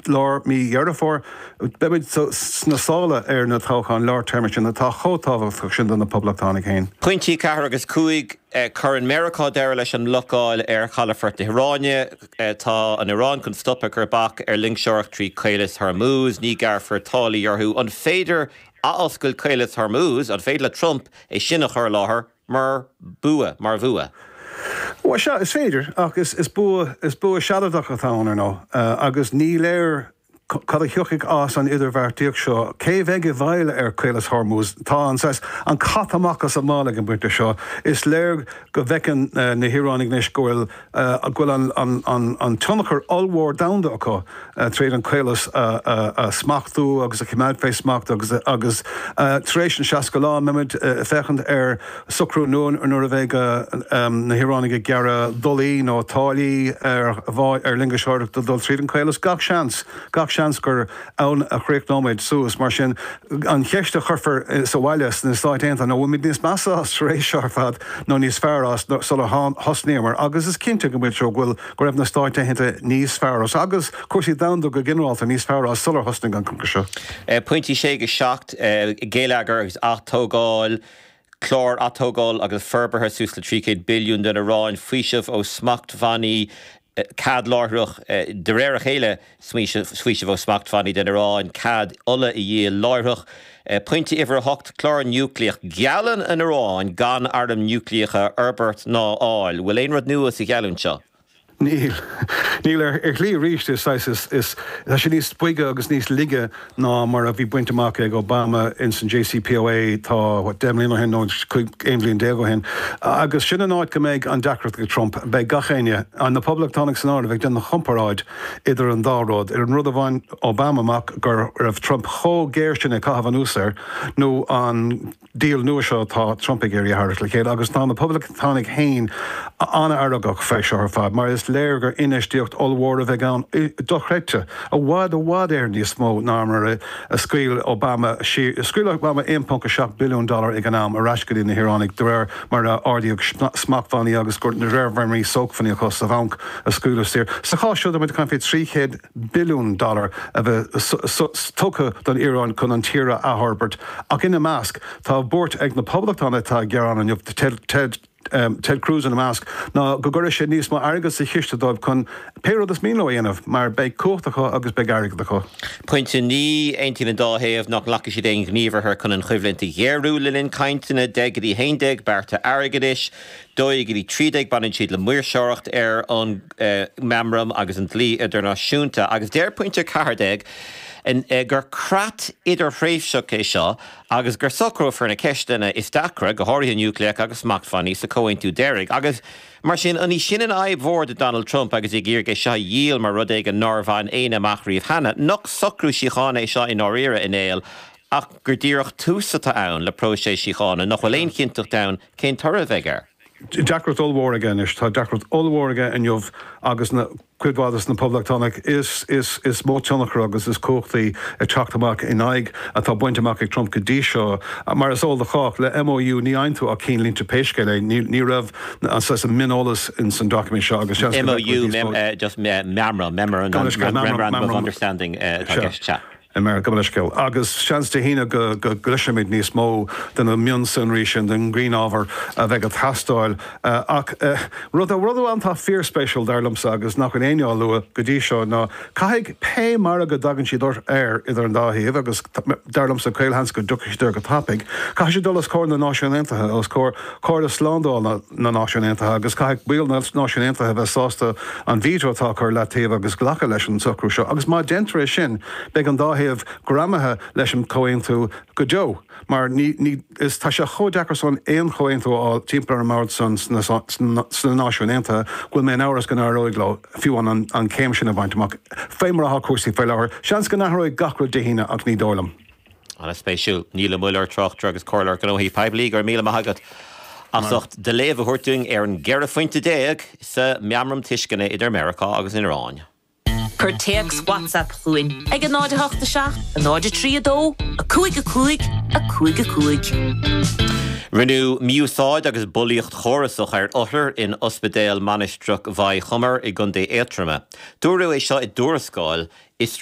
Lár mí Dheireadh Fómhair, beimid sna sála ar na toghcháin lár téarma sin atá chomh tábhachtach sin do na Poblachtánaigh féin. Pointí 4 agus 5, Cuireann Meiriceá deireadh leis an mblocáil ar chalafort na hIaráine. Tá an Iaráin chun stop ag cur bac ar loingseoireacht trí Chaolas Hormuz. Ní ghearrfar táillí orthu. An féidir athoscailt Chaolas Hormuz, an féidir le Trump é sin a chur i láthair mar bua, mar bhua? Bhuel, sea, is féidir, ach is bua, is bua sealadach atá ann, ar ndóigh, agus ní léir cad a thiocfaidh as an idirbheartaíocht seo. Cé a bheidh i bhfeighil ar Chaolas Hormuz? Tá an saghas, an cat amach as an mála ag an bpointe seo. Is léir go bhfeiceann na hIaránaigh anois go bhfuil, go bhfuil an tionchar ollmhór domhanda acu tríd an caolas a smachtú agus a choimeád fé smacht agus agus tar éis an 60 lá, mbeimid ag féachaint ar socrú nua nuair a bheidh na hIaránaigh ag gearradh dolaí nó táillí ar ar loingeoireacht ag dul tríd an caolas. Gach seans, gach seans gur ann a chríochnóimid suas. Mar sin, an cheist a chuirfear sa bhaile sna Stáit Aontaithe ná bhfuilimid níos measa as tar éis seo ar fad nó níos fearr as sular thosnaíomar agus is cinnte go bhfuil go bhfuil go raibh na Stáit Aontaithe níos fearr as agus cúrsaí domhanda go ginearálta níos fearr as sular thosnaigh an cogadh seo. Pointí 6 go 7, Geilleagar agus atógáil, Clár atógála agus forbartha suas le 300 billiún don Iaráin, faoiseamh ó smachtbhannaí, cead láithreach, de réir a chéile, faoiseamh ó smachtbhannaí don Iaráin, cead ola a dhíol láithreach. Pointe uimhir 8, Clár núicléach, Geallann an Iaráin gan airm núicléacha a fhorbairt ná a fháil. Bhfuil aon rud nua sa gheallúint seo? Níl. Níl. Ar shlí arís, is saghas, is, is, tá sé níos boige agus níos laige ná mar a bhí bainte amach ag Obama ins an JCPOA, tá, what, 10 mbliana ó shin nó 11 bhliain ó shin. Agus sin an áit go mbeidh an deacracht ag Trump. Beidh gach éinne, na Poblachtánaigh san áireamh, ag déanamh chomparáid idir an dá rud, ar an rud a bhain Obama amach go raibh Trump chomh géar sin ag caitheamh anuas air, nó an. deal nua seo atá Trump ag iarraidh a tharraingt le chéile agus tá na Poblachtánaigh féin an-fheargach fé seo ar fad mar is léir gur infheistíocht ollmhór a bheidh ann, dochreidte, i bhfad i bhfad Éireann níos mó ná mar a scaoil Obama siar, scaoil Obama 1.7 billiún dollar ag an am ar ais go dtí na hIaránaigh de réir mar a ardaíodh smachtbhannaí agus de réir mar a bhí sócmhainní acu sa bhanc a scaoileadh saor. Sa chás seo tá muid ag caint fé 300 billiún dollar a bheith tugtha don Iaráin chun an tír a athfhorbairt, ach ina measc, tá buairt ag na Poblachtánaigh atá ag gearán inniu, Ted Ted Cruz ina measc, ná go gcuirfidh sé níos mó airgid sa chiste dóibh chun pé rud is mian leo a dhéanamh, mar beidh cumhacht acu agus beidh airgead acu. Pointe 9, Aontaíonn an dá thaobh nach nglacfaidh siad aon ghníomhartha chun an choimhlint a ghéarú le linn cainteanna, 10 go dtí 11, bearta airgeadais. 12 go dtí 13, baineann siad le maoirseoireacht ar an meamram agus an dlí idirnáisiúnta, agus deir pointe 14 gur creat idirthréimhseach é seo agus gur socrófar na ceisteanna is deacra, go háirithe núicléach agus smachtbhannaí, sa chomhaontú deiridh. Agus mar sin, an í sin an fhadhb mhór do Donald Trump agus é ag iarraidh é seo a dhíol mar rud éigin nár bhain éinne amach riamh cheana? Nach socrú síochána é seo i ndáiríre, a Néill, ach gur díreach tús atá ann le próiseas síochána, nach bhfuil aon chinnteacht ann Cén toradh a bheidh air? Deacracht ollmhór aige anois. Tá deacracht ollmhór aige inniu agus na, cuid mhaith des na Poblachtánaigh is, is, is mó tionchar agus is cumhachtaí ag teacht amach in aghaidh atá bainte amach ag Trump go dtí seo. Mar is eol do chách, le MOU ní fhaigheann tú ach cinnlínte pé scéal é. Ní, ní raibh an saghas an mioneolas ins an doiciméad seo agus seans go MOU, mem, just meamram, memorandum of understanding atá i gceist, sea. I mBéarla, gabh mo leithscéal. Agus seans Dé hAoine go gcloisfimid níos mó de na mionsonraí sin, den ghrianábhar a bheidh ag teastáil. Ach rud amháin atá fíorspéisiúil, dar liomsa, agus nach bhfuil éinne á lua go dtí seo, ná caithfidh pé margadh a dtagann siad air idir an dá thaobh, agus dar liomsa caolsheans go dtiocfaidh siad air go tapaidh, caithfidh siad dul os comhair na Náisiún Aontaithe, os comhair Chomhairle Slándála na Náisiún Aontaithe, agus caithfidh baill na Náisiún Aontaithe a bheith sásta an veto atá acu ar leataobh agus glacadh leis an socrú seo. Agus má deintear é sin, beidh an dá thaobh greamaithe leis an chomhaontú go deo, mar ní, ní, is, tá sé chomh deacair san aon chomhaontú a fháil timpeall ar an mbord san sna, sna Náisiúin Aontaithe go bhfuil mé in amhras go n-éireoidh leo fiú an, an chéim sin a bhaint amach. Fé mar atá cúrsaí faoi láthair, seans go n-athróidh gach rud Dé hAoine ach ní dóigh liom. An-spéisiúil. Niall Ó Muilleoir, tráchtaire agus comhairleoir gnóthaí poiblí, go raibh míle maith agat as ucht do léamh a thabhairt dúinn ar an gceithre phointe sa Meamram Tuisceana idir Meiriceá agus an Iaráin. Cuir téacs WhatsApp chugainn ag 0 8 7 0 3 2 5 5 0. 5 5. Rinneadh mí-úsáid agus bulaíocht chórasach ar othair in Ospidéal Mainistreach Mhaigh Chomair i gContae Aontroma. Dúradh é seo i dtuarascáil fhiosrúcháin.